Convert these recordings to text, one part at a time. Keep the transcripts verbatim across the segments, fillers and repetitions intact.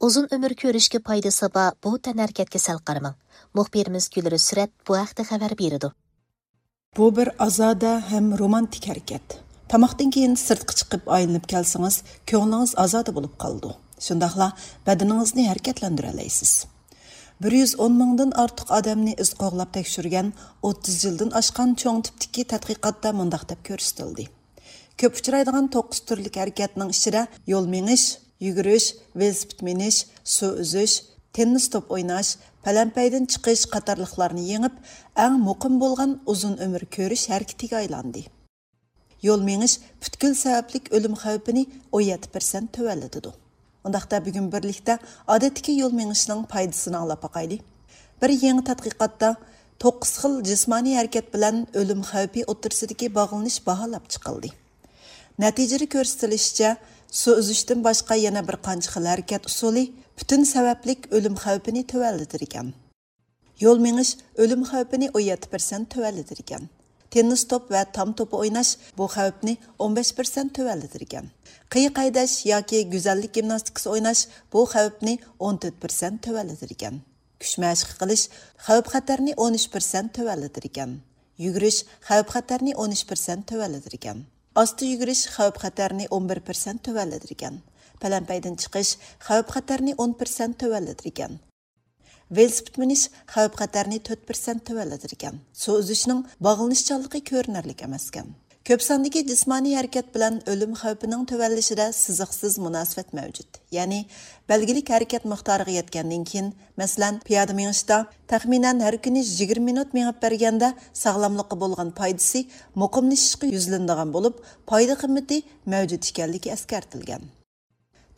ئۇزۇن ئۆمۈر كۆرۈشكە پايدىسى بار بۇ تەنھەرىكەتكە سەل قارىماڭ. مۇخبىرىمىز گۈلرۈز سۈرەت بۇ ھەقتە خەۋەر بېرىدۇ. بۇ بىر ئازادە ھەم رومانتىك ھەرىكەت. تاماقتىن كېيىن سىرتقا چىقىپ ئايلىنىپ كەلسىڭىز، كۆڭلىڭىز ئازادە بولۇپ قالىدۇ. شۇنداقلا بەدىنىڭىزنى ھەرىكەتلەندۈرەلەيسىز. بىر يۈز ئون مىڭدىن ئارتۇق ئادەمنى ئىز قوغلاپ تەكشۈرگەن ئوتتۇز يىلدىن ئاشقان چوڭ تىپتىكى تەتقىقاتتا مۇنداق دەپ كۆرسىتىلدى. كۆپ ئۇچرايدىغان توققۇز تۈرلۈك ھەرىكەتنىڭ ئىچىدە يول مېڭىش، يۈگۈرۈش، ۋېلىسىپىت مىنىش، سۇ ئۈزۈش، تېننىس توپ ئويناش، پەلەمپەيدىن چىقىش قاتارلىقلارنى يېڭىپ، ئەڭ مۇقىم بولغان ئۇزۇن ئۆمۈر كۆرۈش ھەرىكىتىگە ئايلاندى. يول مېڭىش پۈتكۈل سەۋەبلىك ئۆلۈم خەۋپىنى ئون يەتتە پىرسەنت تۆۋەنلىتىدۇ. ئۇنداقتا بۈگۈن بىرلىكتە ئادەتتىكى يول مېڭىشنىڭ پايدىسىنى ئاڭلاپ باقايلى. بىر يېڭى تەتقىقاتتا توققۇز خىل جىسمانىي ھەرىكەت بىلەن ئۆلۈم خەۋپى ئوتتۇرىسىدىكى باغلىنىش باھالاپ چىقىلدى. نەتىجىدە كۆرسىتىلىشىچە، سۇ ئۈزۈشتىن باشقا يەنە بىر قانچە خىل ھەرىكەت ئۇسۇلى پۈتۈن سەۋەبلىك ئۆلۈم خەۋپىنى تۆۋەنلىتىدىكەن. يول مېڭىش ئۆلۈم خەۋپىنى ئون يەتتە پىرسەنت تۆۋەنلىتىدىكەن. تېننىس توپ ۋە تام توپى ئويناش بۇ خەۋپنى ئون بەش پىرسەنت تۆۋەنلىتىدىكەن. قىيىق ھەيدەش ياكى گۈزەللىك گىمناستىكىسى ئويناش بۇ خەۋپنى ئون تۆت پىرسەنت تۆۋەنلىتىدىكەن. كۈچ مەشىقى قىلىش خەۋپ-خەتەرنى ئون ئۈچ پىرسەنت تۆۋەنلىتىدىكەن. يۈگۈرۈش خەۋپ-خەتەرنى ئون ئۈچ پىرسەنت تۆۋەنلىتىدىكەن. ئاستا يۈگۈرۈش خەۋپ-خەتەرنى ئون بىر پىرسەنت تۆۋەنلىتىدىكەن. پەلەمپەيدىن چىقىش خەۋپ-خەتەرنى ئون پىرسەنت تۆۋەنلىتىدىكەن. ۋېلىسىپىت مىنىش خەۋپ-خەتەرنى تۆت پىرسەنت تۆۋەنلىتىدىكەن. سۇ ئۈزۈشنىڭ باغلىنىشچانلىقى كۆرۈنەرلىك ئەمەسكەن. كۆپ ساندىكى جىسمانىي ھەرىكەت بىلەن ئۆلۈم خەۋپىنىڭ تۆۋەنلىشىدە سىزىقسىز مۇناسىۋەت مەۋجۇت. يەنى، بەلگىلىك ھەرىكەت مىقدارىغا يەتكەندىن كېيىن، مەسىلەن، پىيادە مېڭىشتا تەخمىنەن ھەر كۈنى يىگىرمە مىنۇت مېڭىپ بەرگەندە، ساغلاملىققا بولغان پايدىسى مۇقىملىشىشقا يۈزلىنىدىغان بولۇپ، پايدا قىممىتى مەۋجۇت ئىكەنلىكى ئەسكەرتىلگەن.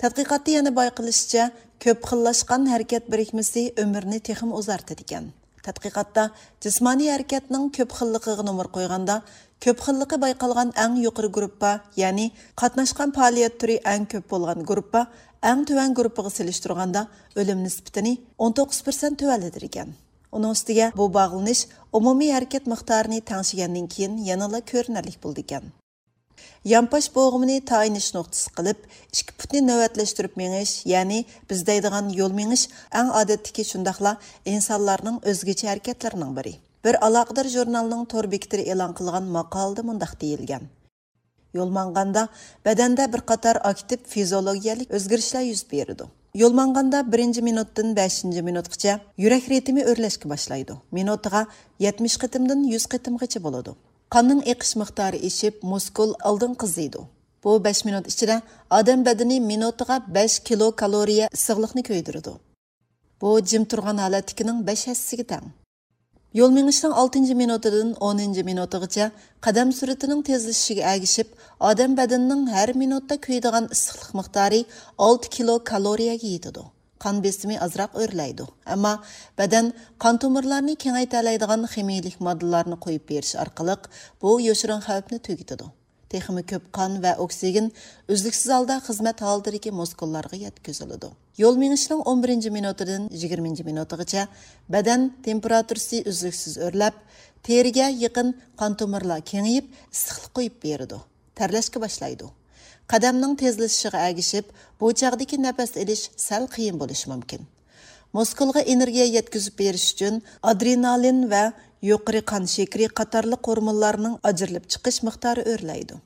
تەتقىقاتتا يەنە بايقىلىشىچە، كۆپ خىللاشقان ھەرىكەت بىرىكمىسى ئۆمۈرنى تېخىمۇ ئۇزارتىدىكەن. تەتقىقاتتا جىسمانىي ھەرىكەتنىڭ كۆپ خىللىقىغا نومۇر قويغاندا، كۆپ خىللىقى بايقالغان ئەڭ يۇقىرى گۇرۇپپا، يەنى قاتناشقان پائالىيەت تۈرى ئەڭ كۆپ بولغان گۇرۇپپا، ئەڭ تۆۋەن گۇرۇپپىغا سېلىشتۇرغاندا ئۆلۈم نىسبىتىنى ئون توققۇز پىرسەنت تۆۋەنلىتىدىكەن. ئۇنىڭ ئۈستىگە بۇ باغلىنىش ئومۇمىي ھەرىكەت مىقدارىنى تەڭشىگەندىن كېيىن يەنىلا كۆرۈنەرلىك بولىدىكەن. يانپاش بوغۇمىنى تايىنىش نۇقتىسى قىلىپ، ئىككى پۇتنى نۆۋەتلەشتۈرۈپ مېڭىش، يەنى بىز دەيدىغان يول مېڭىش ئەڭ ئادەتتىكى، شۇنداقلا ئىنسانلارنىڭ ئۆزگىچە ھەرىكەتلىرىنىڭ بىرى. بىر ئالاقىدار ژۇرنالنىڭ تور بېكىتىدە ئېلان قىلغان ماقالىدە مۇنداق دېيىلگەن: يول ماڭغاندا بەدەندە بىر قاتار ئاكتىپ فىزىئولوگىيەلىك ئۆزگىرىشلەر يۈز بېرىدۇ. يول ماڭغاندا بىرىنچى مىنۇتتىن بەشىنچى مىنۇتقىچە يۈرەك رىتىمى ئۆرلەشكە باشلايدۇ. مىنۇتىغا يەتمىش قېتىمدىن يۈز قېتىمغىچە بولىدۇ. قاننىڭ ئېقىش مىقدارى ئېشىپ، مۇسكۇل ئالدىن قىزىيدۇ. بۇ بەش مىنۇت ئىچىدە ئادەم بەدىنى مىنۇتىغا بەش كىلو كالورىيە ئىسسىقلىقنى كۆيدۈرىدۇ. بۇ جىم تۇرغان ھالەتتىكىنىڭ بەش ھەسسىسىگە تەڭ. يول مېڭىشنىڭ ئالتىنچى مىنۇتىدىن ئونىنچى مىنۇتىغىچە قەدەم سۈرئىتىنىڭ تېزلىشىشىگە ئەگىشىپ، ئادەم بەدىنىنىڭ ھەر مىنۇتتا كۆيىدىغان ئىسسىقلىق مىقدارى ئالتە كىلو كالورىيەگە يېتىدۇ. قان بېسىمى ئازراق ئۆرلەيدۇ، ئەمما بەدەن قان تومۇرلارنى كېڭەيتەلەيدىغان خىمىيىلىك ماددىلارنى قويۇپ بېرىش ئارقىلىق بۇ يوشۇرۇن خەۋپنى تۈگىتىدۇ. تېخىمۇ كۆپ قان ۋە ئوكسىگېن ئۈزلۈكسىز ھالدا خىزمەت ھالىتىدىكى مۇسكۇللارغا يەتكۈزۈلىدۇ. يول مېڭىشنىڭ ئون بىرىنچى مىنۇتىدىن يىگىرمىنچى مىنۇتىغىچە بەدەن تېمپېراتۇرىسى ئۈزلۈكسىز ئۆرلەپ، تېرىگە يېقىن قان تومۇرلار كېڭىيىپ، ئىسسىقلىق قويۇپ بېرىدۇ. تەرلەشكە باشلايدۇ. قەدەمنىڭ تېزلىشىشىغا ئەگىشىپ، بۇ چاغدىكى نەپەس ئېلىش سەل قىيىن بولۇشى مۇمكىن. مۇسكۇلغا ئېنېرگىيە يەتكۈزۈپ بېرىش ئۈچۈن ئادرېنالىن ۋە يۇقىرى قان شېكىرى قاتارلىق ھورمونلارنىڭ ئاجرىلىپ چىقىش مىقدارى ئۆرلەيدۇ.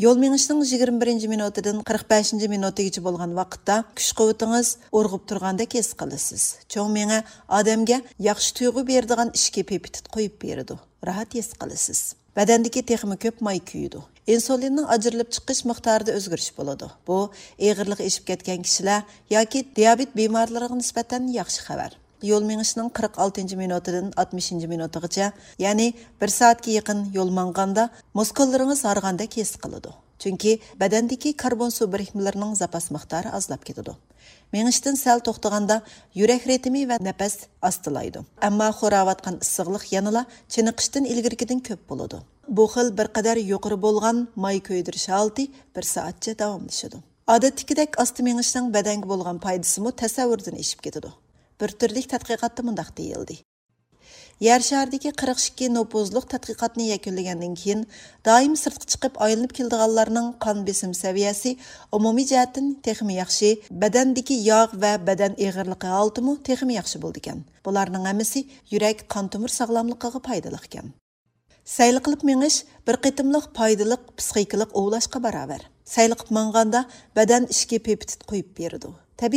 يول مېڭىشنىڭ يىگىرمە بىرىنچى مىنۇتىدىن قىرىق بەشىنچى مىنۇتىگىچە بولغان ۋاقىتتا كۈچ-قۇۋۋىتىڭىز ئۇرغۇپ تۇرغاندەك ھېس قىلىسىز. چوڭ مېڭە ئادەمگە ياخشى تۇيغۇ بېرىدىغان ئىچكى پېپتىت قويۇپ بېرىدۇ. راھەت ھېس قىلىسىز. بەدەندىكى تېخىمۇ كۆپ ماي كۆيىدۇ. ئىنسۇلىننىڭ ئاجرىلىپ چىقىش مىقدارىدا ئۆزگىرىش بولىدۇ. بۇ ئېغىرلىقى ئېشىپ كەتكەن كىشىلەر ياكى دىيابېت بىمارلىرىغا نىسبەتەن ياخشى خەۋەر. يول مېڭىشنىڭ قىرىق ئالتىنچى مىنۇتىدىن ئاتمىشىنچى مىنۇتىغىچە، يەنى بىر سائەتكە يېقىن يول ماڭغاندا، مۇسكۇللىرىڭىز ھارغاندەك ھېس قىلىدۇ. چۈنكى بەدەندىكى كاربون سۇ بىرىكمىلىرىنىڭ زاپاس مىقدارى ئازلاپ كېتىدۇ. مېڭىشتىن سەل توختىغاندا يۈرەك رىتىمى ۋە نەپەس ئاستىلايدۇ. ئەمما خوراۋاتقان ئىسسىقلىق يەنىلا چېنىقىشتىن ئىلگىرىكىدىن كۆپ بولىدۇ. بۇ خىل بىر قەدەر يۇقىرى بولغان ماي كۆيدۈرۈش ھالىتى بىر سائەتچە داۋاملىشىدۇ. ئادەتتىكىدەك ئاستا مېڭىشنىڭ بەدەنگە بولغان پايدىسىمۇ تەسەۋۋۇردىن ئېشىپ كېتىدۇ. بىر تۈرلۈك تەتقىقاتتا مۇنداق دېيىلدى: يەر شارىدىكى قىرىق ئىككى نوپۇزلۇق تەتقىقاتنى يەكۈنلىگەندىن كېيىن، دائىم سىرتقا چىقىپ ئايلىنىپ كېلىدىغانلارنىڭ قان بېسىم سەۋىيەسى ئومۇمىي جەھەتتىن تېخىمۇ ياخشى، بەدەندىكى ياغ ۋە بەدەن ئېغىرلىقى ھالىتىمۇ تېخىمۇ ياخشى بولىدىكەن. بۇلارنىڭ ھەممىسى يۈرەك، قان تومۇر ساغلاملىقىغا پايدىلىقكەن. سەيلە قىلىپ مېڭىش بىر قېتىملىق پايدىلىق پىسخىكىلىق ئوۋلاشقا باراۋەر. سەيلە قىلىپ ماڭغاندا بەدەن ئىچكى پېپتىد قويۇپ بېرىدۇ.